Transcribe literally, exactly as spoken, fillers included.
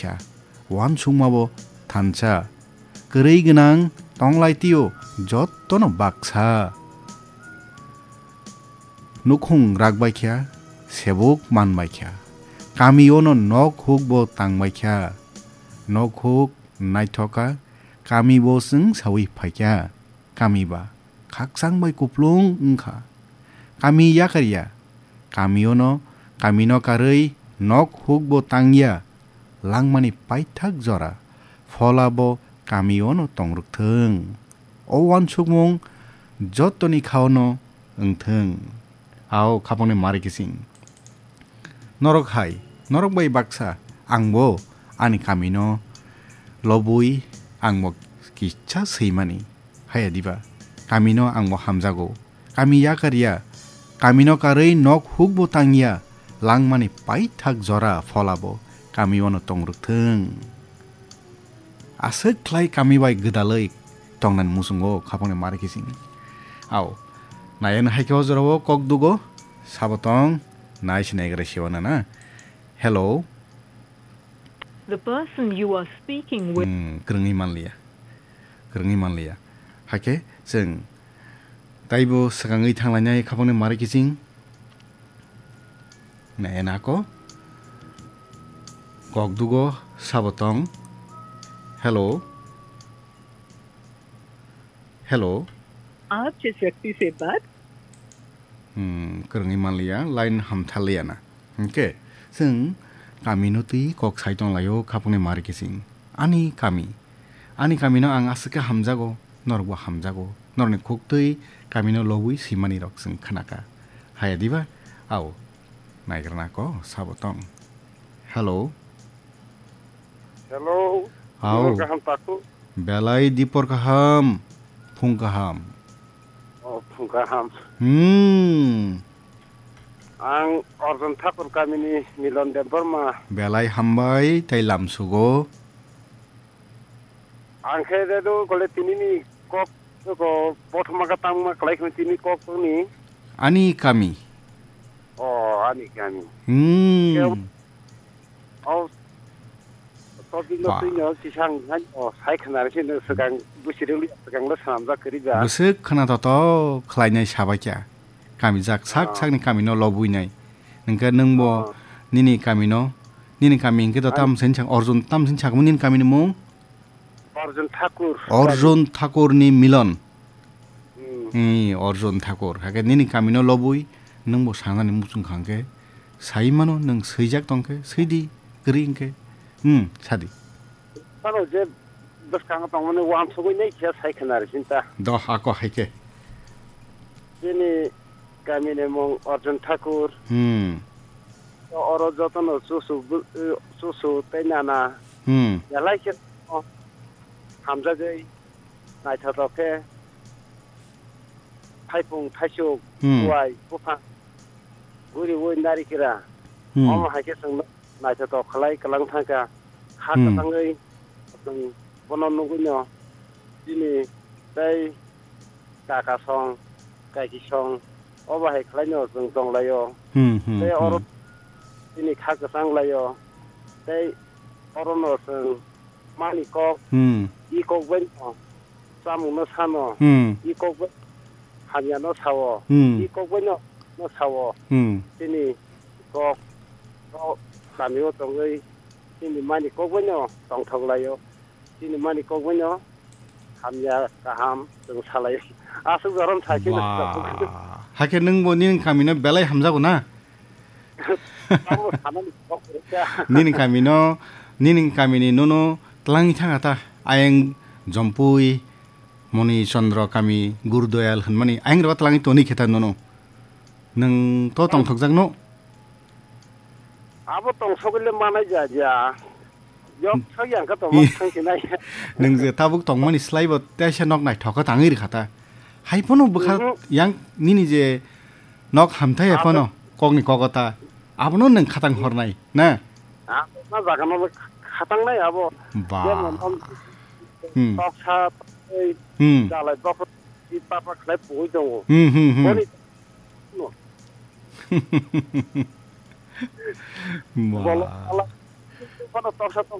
kha, uansukmabo thansa, kwrwi gwnang tonglaitio jottono baksa. Nukhung rakbai kha, sebuk manbai kha, kamiono nok hukbo tangbai kha, nok huk naithok kha, kamibo chwng saui phai kha. Kami ba khakchang bai kuplung wng kha. Kami yakar ya. Kamiono, kamino karwi nok hukbo tang ya. Langmani paithak jora phola bo kamiono tong rwk thung. O uansukmung jottoni khaono wng thung. Ao khapangni mari kising. Norok hai, norok bai baksa, angbo ani kamino lobwi angbo kisa swimani. Haya diba, kamino angbo hamjago. Kami yakar ya, kamino karwi nok hukbo tang ya, langmani paithak jora pholabo kamiono tong rwk thung. Aswk khlai kami bai gwdalwi tongnani muchungo khapangni mari kising. Ao, nayani hai khe o jorao kok dugo, sabo tong, nai se naigra se wana na. Hello. The person you are speaking with. Hmm, kwrwngwi manliya. Kwrwngwi manliya. Hakhe chwng taibo swkangwi thanglainai khapangni mari kising. Nai nako. Kok dugo sabo tong. Hello. Hello. आप जिस व्यक्ति से बात Hmm, kwrwngwi manliya, line hamtharliya na. Hwnkhe, chwng kamino twi kok sai tonglaio khapangni mari kising. Ani kami. Ani kamino ang aswk khe hamjago, norokbo hamjago. Norokni khuktwi kamino lobwi swimani rok chwng khnakha. Haya diba? Ao. Naigrana ko sabo tong. Hello. Hello. Ao. Dipor kaham taku. Belai dipor kaham. Phung kaham. Oh, phung kaham. Hmm. Ang Arjun Thakur kamini Milon Debbarma. Belai hambai tei lamsugo. Ang khe redo kole tinini kok ko bothoma ka tangma klai khun tini kok ni. Ani kami. Oh, ani kami. Hmm. Khe o topic no Ba. Twi no kisang han o sai khna re sino swkang busiri uli swkang lo sanam jak kri ja. Bwswk khna to to khlainai sabai kya. Kami jak sak Ah. Sakni kami no lobwi nai. Nengke nengbo Ah. Nini kami no, nini kami hingke to Ani tam sen chang Arjun tam sen chang nini kami ni mung? Arjun Thakur. Arjun Thakur ni Milon. Hmm. Ni Arjun Thakur. Hake nini kami no lobwi nengbo sanani muchung khang khe sai mano neng swijak tong khe swi di kwrwi hingke. Hmm, sadi. Tamo je bwskango tongmani uansugwi nai khe sai khna re sinta. Do, ako hai khe. Bini kamini mung Arjun Thakur. Hmm. Oro jotono chuchu bu-, chuchu tei nana. Hmm. Belai khe hamjagwi naithotok khe thaipung thaisuk Hmm. Buai buphang guriwi narikra. Hmm. Omo hai khe chwng naithotok khlai kwlang thangkha. Kha Hmm. Kwchangwi chwng bono nugwino chini tei kaka song, kaiki song, obo hai khlaino chwng tonglaio. Hmm, hmm, Tei oro hmm. Chini kha kwchang laio. Tei orono chwng mani kok, Hmm. I kok baino chamungno sano, Hmm. I kok bai hamyano sao, Hmm. I kok baino no sao. Hmm. Chini kok o kamio tongwi chini mani kok baino tongthok laio. Chini mani kok baino hamya kaham chwng salai. Aswk jorom sai khe Ba. Hakhe nwngbo nini kamino belai hamjago na? Tamo sanani kok rwkha. Nini kamino, nini kamini nono twlangwi thangkha ta. Ayang Jompui, Moni Chandra kami, Gurdoyal hwnmani ayang rwkha twlangwi toni khe ta nono. Nwng to tongthokjak no? Abo tongsogwile manai ja ja. Yok Hmm. Sok yang kha tongma thang sinai. Nwng je tabuk tongmani slai bo teisa nok naithok kha tangwi rwkha ta. Hai phano bwkha Mhm. Yang nini je nok hamthai Abo phano kokni kogo ta. Abono nwng khatang hornai na? Abo ma jaga no khatang nai abo. Ba. Jemon om Hmm. Toksa tei Hmm. Jalai bokor i papa khlai pugui tongo. Hmm, hmm, hmm. Boni Ba. Bolo ala. Kono toksa tokti